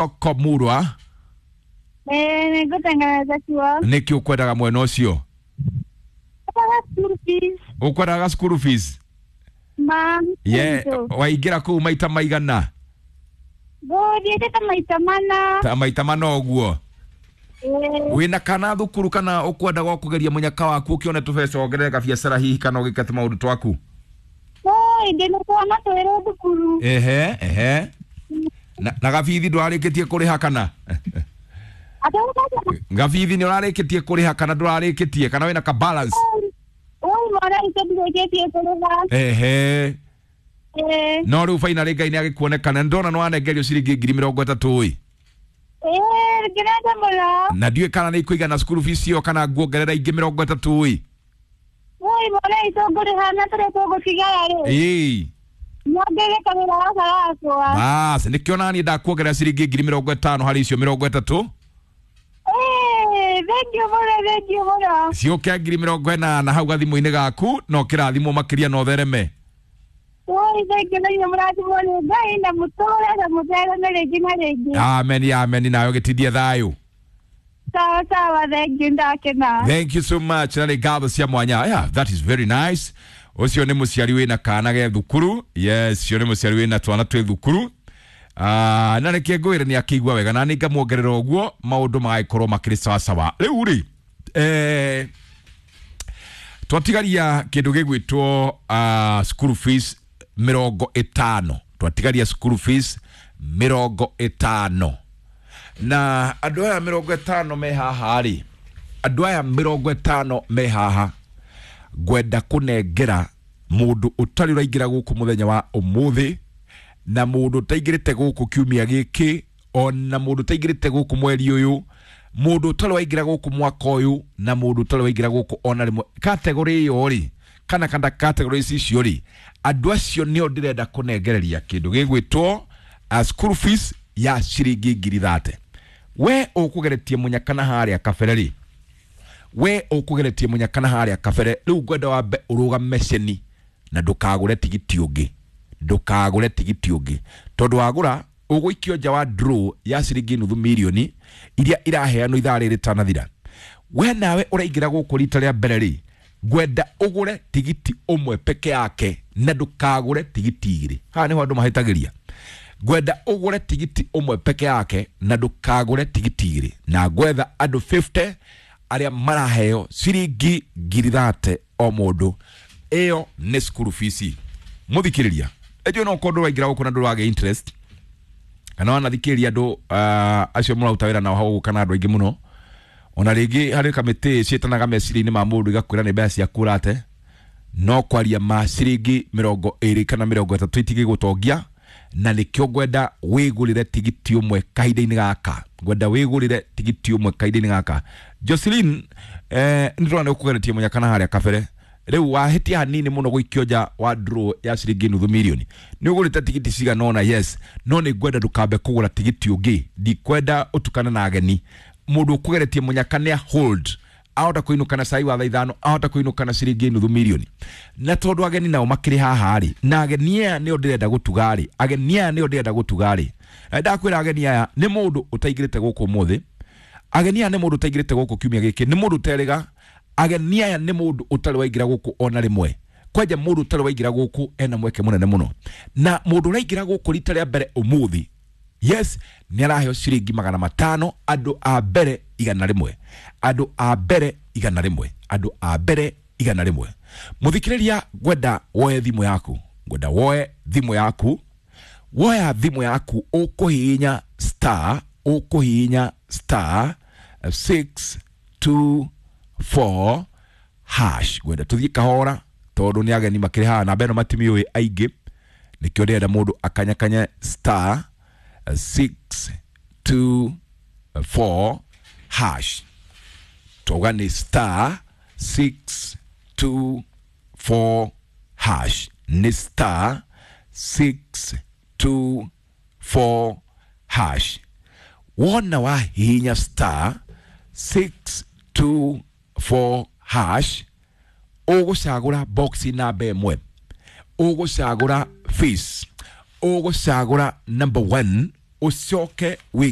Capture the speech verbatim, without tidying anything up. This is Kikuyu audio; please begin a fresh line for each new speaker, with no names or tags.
Soko Murwa.
Eh, nĩngũtengeneza kuo.
Nĩkĩ ũkwendaga mwena ũcio?
Ũkwendaga school fees.
Ũkwendaga school fees?
Ma.
Ye, waingĩra kũu maita maigana?
Ngũthiĩte ta maita mana.
Ta maita mana ũguo.
Eh.
Wĩna kana thukuru kana ũkwendaga kũgeria mũnyaka waku ũkĩone tũbeca wongerere gabiacara hihi kana ũgĩke tũmaũndũ twaku?
Oi, ndĩna twana twĩrĩ thukuru.
Ehe, ehe. Na, na gabithi ndũrarĩkĩtie kũrĩha kana?
Atĩ
Gabithi nĩ ũrarĩkĩtie kũrĩha kana ndũrarĩkĩtie kana wĩna ka balance?
Oi, mwana itũ ndirĩkĩtie kũrĩha.
Ehe.
Eh.
No rĩu finally Ngai nĩagĩkuonekana nĩndona nĩwanengerio ciringi ngiri mĩrongo ĩtatũ ĩ.
Eh, ngenete mũno.
Na ndiũĩ kana nĩ ikũigana school fees ĩyo kana nguongerera ingĩ mĩrongo ĩtatũ ĩ.
Oi, mwana itũ ngũrĩha na tũrĩa tũgũtigara rĩ.
Ĩĩ.
Nyongerere kawĩra gaka gakwa.
Bas, nĩkĩo naniĩ ndakuongerera ciringi ngiri mĩrongo ĩtano harĩ icio mĩrongo ĩtatũ.
Eh, thank you mũno, thank you mũno.
Ciũke ngiri mĩrongo ĩnana hau gathimũ-inĩ gaku na ũkĩrathimwo makĩria na ũthereme.
Oi, thank you, na inyuĩ mũrathimwo nĩ Ngai na mũtũre na mũthereme rĩngĩ na rĩngĩ.
Amen, amen, nawe gĩtindie thayũ.
Sawa sawa, thank you, ndakena.
Thank you so much. Na nĩ ngatho cia mwanya. Yeah, that is very nice. Ũcio nĩ mũciari wĩna kana ge thukuru. Yes, ũcio nĩ mũciari wĩna twana twĩ thukuru. Ah, na reke ngwĩre nĩ akĩigua wega na nĩ ngamuongerera ũguo maũndũ magagĩkorwo makĩrĩ sawa sawa. Rĩu rĩ, eh, twatigaria kĩndũ gĩgwĩtwo uh, school fees mĩrongo ĩtano. Twatigaria school fees mĩrongo ĩtano. Na andũ aya mĩrongo ĩtano me haha rĩ, andũ aya mĩrongo ĩtano me haha ngwenda kũnengera mũndũ ũtarĩ ũraingĩra gũkũ mũthenya wa ũmũthĩ na mũndũ ũtaingĩrĩte gũkũ kiumia gĩkĩ ona mũndũ ũtaingĩrĩte gũkũ mweri ũyũ, mũndũ ũtarĩ waingĩra gũkũ mwaka ũyũ na mũndũ ũtarĩ waingĩra gũkũ ona rĩmwe. Kategori ĩyo rĩ, kana kana kategori ici icio rĩ, andũ acio nĩo ndĩrenda kũnengereria kĩndũ gĩgwĩtwo uh, school fees ya ciringi ngiri thate. We ũkũgeretie mũnyaka na harĩa kabere rĩ, we ũkũgeretie mũnyaka na harĩa kabere rĩu ngwenda wambe ũrũgame ceni na ndũkagũre tigiti ũngĩ, ndũkagũre tigiti ũngĩ tondũ wagũra ũgũikio nja wa draw ya ciringi nuthu mirioni iria iraheanwo ithaa rĩrĩ rĩtanathira. We nawe ũraingĩra gũkũ rita rĩa mbere rĩ, ngwenda ũgũre tigiti ũmwe peke yake na ndũkagũre tigiti igĩrĩ. Haha nĩho andũ mahĩtagĩria. Ngwenda ũgũre tigiti ũmwe peke yake na ndũkagũre tigiti igĩrĩ, na ngwetha andũ fifty arĩa maraheo ciringi ngiri thate o mũndũ. Ĩyo nĩ school fees. Mũthikĩrĩria, ĩnjũĩ no ũkorwo ndũraingĩra gũkũ na ndũragĩa interest kana wanathikĩrĩria andũ uh, acio mũraruta wĩra nao hau kana andũ aingĩ mũno, ona rĩngĩ harĩ kamĩtĩ ciĩtanaga meciria-inĩ ma mũndũ igakwĩra nĩ mbeca ciaku ũrate, no kwaria ma ciringi mĩrongo ĩrĩ kana mĩrongo ĩtatũ itingĩgũtongia, na nĩkĩo ngwenda wĩgũrĩre tigiti ũmwe kahinda-inĩ gaka. Ngwenda wĩgũrĩre tigiti ũmwe kahinda-inĩ gaka. Jocelyn, eh, nĩ ndĩrona nĩ ũkũgeretie mũnyaka na harĩa kabere. Rĩu wahĩtia hanini mũno gũikio nja wa draw ya ciringi nuthu mirioni. Nĩ ũgũrĩte tigiti cigana ũna, yes, no nĩ ngwenda ndũkambe kũgũra tigiti ũngĩ. Ndikwenda ũtukane na ageni. Mũndũ ũkũgeretie mũnyaka nĩ a hold, ahota kũinũka na cai wa thaa ithano, ahota kũinũka na ciringi nuthu mirioni. Na tondũ ageni nao makĩrĩ haha rĩ, na ageni aya nĩo ndĩrenda gũtuga rĩ, ageni aya nĩo ndĩrenda gũtuga rĩ, na ndakwĩra ageni aya nĩ mũndũ ũtaingĩrĩte gũkũ ũmũthĩ, ageni aya nĩ mũndũ ũtaingĩrĩte gũkũ kiumia gĩkĩ, nĩ mũndũ ũterĩga, ageni aya nĩ mũndũ ũtarĩ waingĩra gũkũ ona rĩmwe. Kwanja mũndũ ũtarĩ waingĩra gũkũ ena mweke mũnene mũno. Na mũndũ ũraingĩra gũkũ rita rĩa mbere ũmũthĩ, yes, nĩ araheo ciringi magana matano, andũ a mbere igana rĩmwe, andũ a mbere igana rĩmwe, andũ a mbere igana rĩmwe. Mũthikĩrĩria, ngwenda woe thimũ yaku, ngwenda woe thimũ yaku, woya thimũ yaku ũkũhihinya star, ũkũhihinya star six two four hash. Ngwenda tũthiĩ kahora tondũ nĩ ageni makĩrĩ haha namba ĩno matimiũĩ aingĩ, nĩkĩo ndĩrenda mũndũ akanyakanye star six two four hash. Twauga nĩ star six two four hash, nĩ star six two four hash. Wona wahihinya star six two four hash, ũgũcagũra box namba ĩmwe, ũgũcagũra fees, ũgũcagũra number one, Ucoke wike.